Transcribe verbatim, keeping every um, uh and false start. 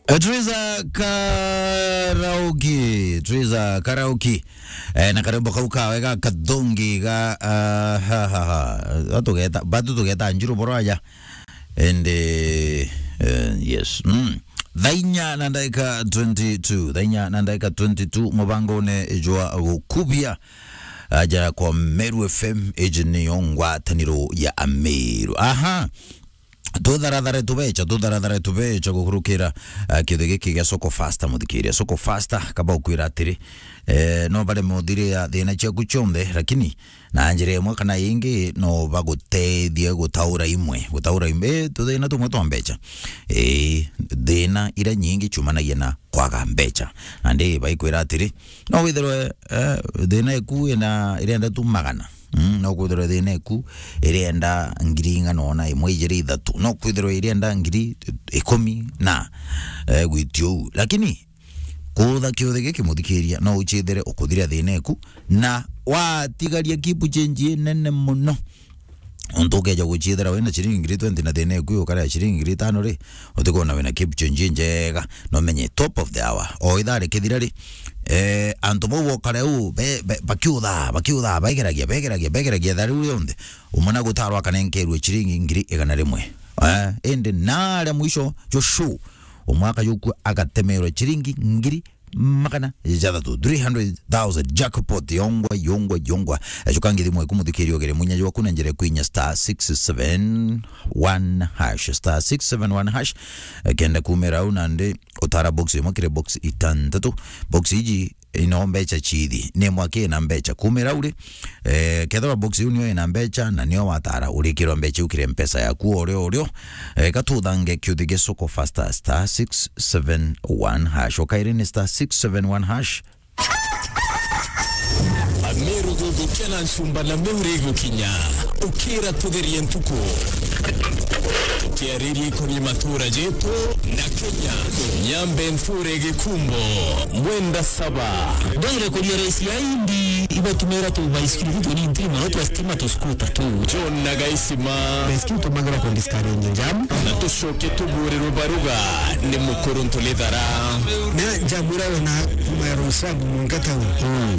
Eh, Teresa Karaoke, Teresa Karaoke. Eh, na karwimbo kau kawe ga kathongi ga, ah, ha, ha, ha. Batugeta, batu tugeta njuru boro aja. And, eh, eh, yes. Mm. Thaa inya na ndagika twenty-two. Thaa inya na ndagika twenty-two, mubangone jwa gukubia aja kwa Meru F M, iji niyo ngwataniro ya Ameru. Aha. Tutharathare tubecha, tutharathare tubecha gukurukira, eh, kiuthi giki gia Soko Faster, muthikiria. Soko Faster, kaba ukwira atiri, eh, no bareme uthiria thina ciaku cionthe, lakini na njira imwe kana ingi no bagutethie gutaura imwe, gutaura imwe, eh, tuthina tumwe twa mbecha. Eh, thina iria nyingi ciumanagia na kwaga mbecha. Nandi baikwira atiri, no withirwe, eh, thina iku ina, irenda tu magana. Mm, no kwithirwa thina iku irienda ngiri ing'ana ona, imwe, ijiri, ithatu. No kwithirwa irienda ngiri ikumi na, eh, gwitia uu. Lakini kuutha kiuthi giki, muthikiria, no uchithire ukuthiria thina iku, na watigaria keep change inene muno. Untu ukeja guchithira wina ciringi ngiri twenty na thina iku ukarea ciringi ngiri itano ri, utikwona wina keep change injega. No menye top of the hour. O ithaa rikithira ri, eh, antu bau bokare uu, be, be, bakiutha, bakiutha, begeragia, begeragia, begeragia, thaa riu rionthe, umwe na gutarwa akanenkerwe ciringi ngiri igana rimwe. Eh, indi naria mwisho jwa show, umwe akajukua agatemerwa ciringi ngiri magana jathatu, three hundred thousand, jackpot, yongwa, yongwa, yongwa. Ejuka ngithi mweku muthikiria ugere munya jwaku na njira kwinya star six seven one hash, star six seven one hash. Eh, kenda kumira au nandi utara box imwe kiri box itantatu. Box iji ino mbecha chithi, ni mwaki ina mbecha kumira uri. Eh, kethirwa box iu niyo ina mbecha na niyo watara, urikirwa mbecha iu kiri mpesa yaku o rio o rio. Eh, katuthange kiuthi gia Soko Faster, star six seven one hash. Okaire ni star six seven one hash. Ameru gugukia na ncumba na Meru igukinya. Ukira tugerie ntuku. Tukiaririe ikoni matura jetu na Kenya. Nyambe nthure gikumbo. Mwenda saba. Ndwire kuria raisi ya indi ibatumira tu baisikiri tu ni ntirima no twa stima tu skuta tu. John na Gaisima. Baisikiri tumagira ku discourage jam. Na tucoke tuburirwe baruga ni mukuru ntulithara. Na jam ira wena kuma ya Rosabu mungata u. Mm.